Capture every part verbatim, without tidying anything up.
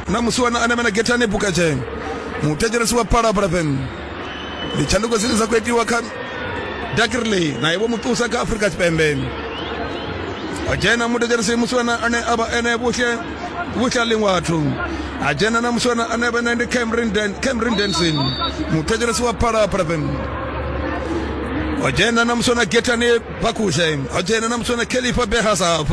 Na musiwana ane mena Getane Bukache. Muthetshelesi wa Phalaphala F M. Ndi tshanduko dzine dza khou itiwa kha Dakirley na ivo muṱusa kha Afrika Tshipembe. O dzhena muthetshelesi musiwana ane a vha ene vhuhle vhuhlali wathu. A dzhena na musiwana ane vha ene ndi Cameron Dan Cameron Denson. Muthetshelesi wa Phalaphala F M. O dzhena na musiwana Getane Bakushe. O dzhena na musiwana Khalifa Behasaf.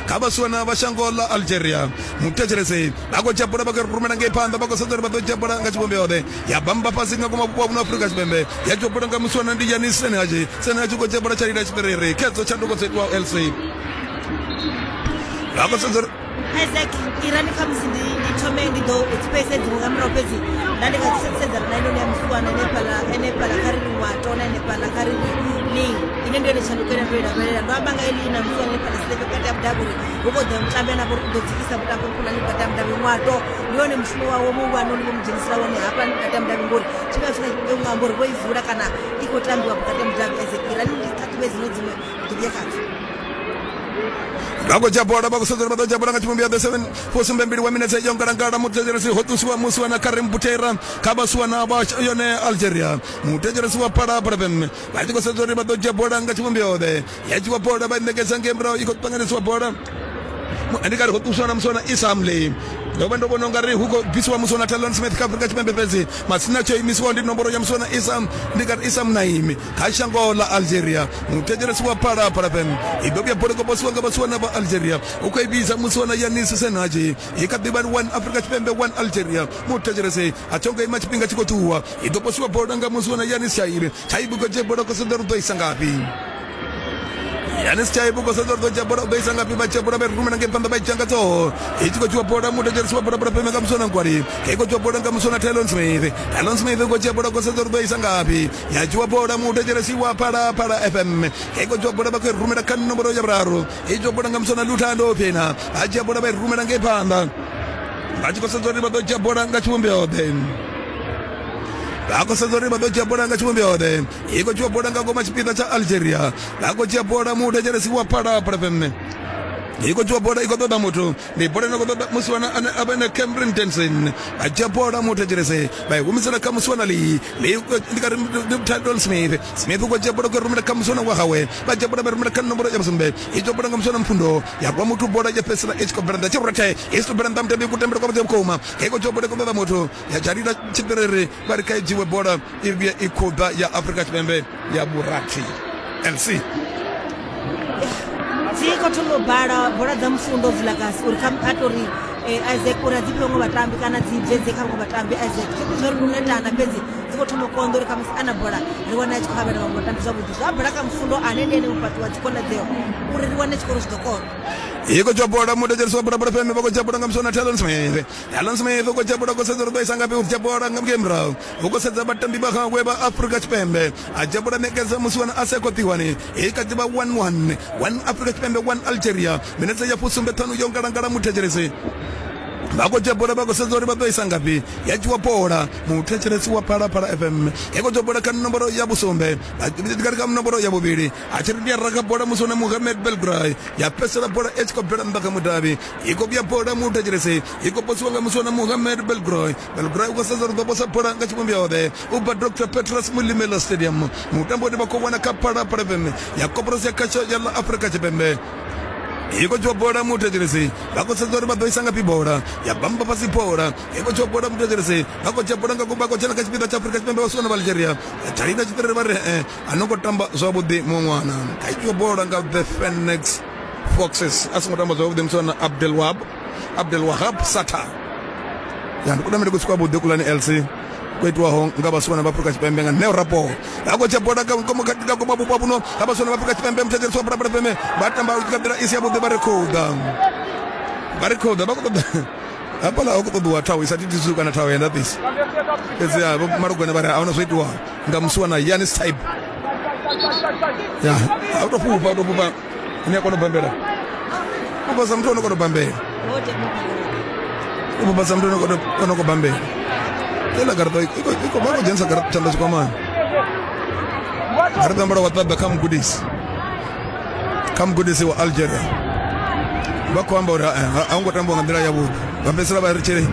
Kha vhasiwana vha shango ḽa Algeria. Muthetshelesi vha khou dzhia bola vha khou rumela ngei phanḓa, vha khou sedza uri vha ḓo dzhia bola nga tshivhumbeo ḓe. Ya bamba fhasi nga ngomu vhupo ha Afrika Tshipembe. Ya dzhia bola nga musiwana ndi Yanis Senhaji. Senhaji khou dzhia bola tsha lila tshiperere. Khedzo tshanduko dzo itiwaho L C. Vha khou sedza uri Isaac irani kha musi ndi ndi thome ndi ḓo space dziṅwe nga murahu, fhedzi nda ndi nga sedzana na inoni ya musiwana henefhaḽa henefhaḽa kha ri ri Ngwato na henefhaḽa kha ri ri Ling, ine ndi yone tshanduko ine ndo i lavhelela. Ndo amba nga eli na musiwana henefhaḽa Selepe vhukati ha mudavhi uri hu khou ḓa mutambi ane a vha uri u ḓo dzikisa mutambo mukhulwane vhukati ha mudavhi. Ngwato ndi yone mushumo wawe muhulwane une vho mu dzhenisela wone hafha vhukati ha mudavhi, ngori tshifhinga tshifhinga u nga amba uri vho i vula kana i khou tambiwa vhukati ha mudavhi. Isaac irani ndi ṱhaṱhuvhe dziṅwe dziṅwe ḓo vhuya khadzo. Vha khou dzhia bola, vha khou sedza uri vha ḓo dzhia bola nga tshivhumbeo ya seven fusumbe mbili wa minetse yo ngalangala. Muthetshelesi ho ṱusiwa musiwana Karim Butera kha vhasiwana vha yone Algeria. Muthetshelesi wa Phalaphala F M vha tshi khou sedza uri vha ḓo dzhia bola nga tshivhumbeo ḓe. Ya dzhiwa bola vha i ṋekedza ngei murahu, i khou ṱanganisiwa bola. Ndi kari ho ṱusiwa na musiwana Isam Lee. Ndo vha ndo vhona ungari hu khou bvisiwa musiwana Talon Smith kha Afrika Tshipembe, fhedzi matsina tsho imisiwaho ndi nomboro ya musiwana Isam, ndi kari Isam Naimi kha shango ḽa Algeria. Muthetshelesi wa Phalaphala F M i ḓo vhuya bola khou nga vhasiwana vha Algeria. U khou i vhidza musiwana Yanis Senhaji. I kha ḓi vha one Afrika Tshipembe one Algeria. Muthetshelesi a tho ngo ima tshifhinga tshi khou ṱuwa. I ḓo posiwa bola nga musiwana Yanis Shaibi. Shaibi khou dzhia bola khou sedza uri u ḓo isa ngafhi. Yanis Chaibu khou sedza uri ḓo dzhia bola u ḓo isa ngafhi. Vha dzhia bola vha i rumela ngei phanḓa vha i dzhia nga ṱhoho. I tshi khou dzhiwa bola muthetshelesi wa Phalaphala F M nga musiwana Nkwali. I khou dzhiwa bola nga musiwana Talon Smith. Talon Smith u khou dzhia bola khou sedza uri ḓo isa ngafhi. Ya dzhiwa bola muthetshelesi wa Phalaphala F M. I khou dzhiwa bola vha khou i rumela kha nomboro ya vhuraru. I dzhiwa bola nga musiwana Luthando Phina. Vha dzhia bola vha i rumela ngei phanḓa. Vha tshi khou sedza uri vha ḓo dzhia bola nga tshivhumbeo ḓe. Vha khou sedza uri vha ḓo dzhia bola nga tshivhumbeo ḓe. I khou dzhiwa bola nga ngoma tshipiḓa tsha Algeria. Vha khou dzhia bola muthetshelesi wa Phalaphala F M. I khou dzhiwa bola i khou ṱoḓa muthu. Ndi bola ine khou ṱoḓa musiwana ane a vha ene Cameron Denson. Vha dzhia bola muthetshelesi vha i humisela kha musiwana Lee. Lee ndi kari ndi Talon Smith. Smith u khou dzhia bola khou rumela kha musiwana wa hawe. Vha dzhia bola vha rumela kha nomboro ya vhusumbe. I dzhia bola nga musiwana Mfundo. Ya rwa muthu bola ya fhedzisela i tshi khou bvela nnḓa. Tshiruthe i tshi bvela nnḓa mutambi ku tambela kwa vhuḓi vhukuma. I khou dzhia bola i khou ṱoḓa muthu. Ya dzhalila tshiperere vha ri kha i dzhiwe bola i vhuye i khou ḓa ya Afrika Tshipembe ya vhurathi. L C. Dzi khou thoma u bala bola dza Mfundo Vilakazi uri kha a tori Isaac uri a dzi fhiwe vhaṅwe vhatambi kana dzi bvedze kha vhaṅwe vhatambi. Isaac thi zwa uri ndi u netana, fhedzi dzi khou thoma u konḓa uri khamusi ana bola ri wane a tshi khou avhela vhaṅwe vhatambi zwavhuḓi. Zwa bola kha Mfundo ane ndi ene mufhaṱi wa dzikhonadzeo uri ri wane tshikoro zwi ḓo kona. I khou dzhia bola muthetshelesi wa Phalaphala F M. Vha khou dzhia bola nga musiwana Talon Smith. Talon Smith u khou dzhia bola khou sedza uri ḓo isa ngafhi. U dzhia bola nga ngei murahu. U khou sedza vhatambi vha hawe vha Afrika Tshipembe. A dzhia bola ṋekedza musiwana Aseko Tiwani. I kha ḓi vha one one. One Afrika Tshipembe one Algeria. Minetse ya fusumbe ṱhanu yo ngalangala muthetshelesi. Vha khou dzhia bola vha khou sedza uri vha ḓo isa ngafhi. Ya dzhiwa bola muthetshelesi wa Phalaphala F M. I khou dzhia bola kha nomboro ya vhusumbe. Kha kha nomboro ya vhuvhili. A tshi ri ndi ya raga bola musiwana Mohamed Belgray. Ya fhedzisela bola i tshi khou bvela nnḓa kha mudavhi. I khou vhuya bola muthetshelesi. I khou posiwa nga musiwana Mohamed Belgray. Belgray u khou sedza uri ḓo posa bola nga tshivhumbeo ḓe. U bva Doctor Petrus Molemela Stadium. Mutambo une vha khou vhona kha Phalaphala F M ya Koporasi ya Khasho ya ḽa Afrika Tshipembe. I khou dzhiwa bola muthetshelesi. Vha khou sedza uri vha ḓo isa ngafhi bola. Ya bamba fhasi bola. I khou dzhiwa bola muthetshelesi. Vha khou dzhia bola nga vha khou dzhena kha tshipiḓa tsha Afrika Tshipembe vhasiwana vha Algeria. Dzhalina tshiṱiriri vha ri eh a no ngo tamba zwavhuḓi muṅwe ṅwana. Kha dzhiwa bola nga the Phoenix Foxes. A songo tamba zwavhuḓi musiwana Abdelwahab Abdelwahab Sata. Ya ndi kutambele kusi kwavhuḓi kulani L C kwo itiwaho nga vhasiwana vha Afrika Tshipembe nga Neo Rapo. Vha khou dzhia bola nga ngomu nga ngomu vhupo vhuno ha vhasiwana vha Afrika Tshipembe. Muthetshelesi wa Phalaphala F M vha tamba nga nḓila i si yavhuḓi. Vha ri khou ḓa vha ri khou ḓa vha khou ṱoḓa hafhaḽa hu khou ṱoḓiwa thawu i sa thithiswi kana thawu ya ndaṱisi. Fhedzi vho Malugwane vha ri ahuna zwo itiwa nga musiwana Yanis Taib. Ya a u tou fhufha u tou fhufha ni a kona u bambela. Fhufha sa muthu o no kona u bambela. U fhufha sa muthu o no khou bambela. Ela garaṱa i khou vha khou dzhenisa garaṱa tshanḓa tshikwamani. Garaṱa ambara wa ṱaḓa kha mugudisi. Kha mugudisi wa Algeria. Vha khou amba uri a hu ngo tambiwa nga nḓila yavhuḓi. Vha fhedzisela vha ri tshele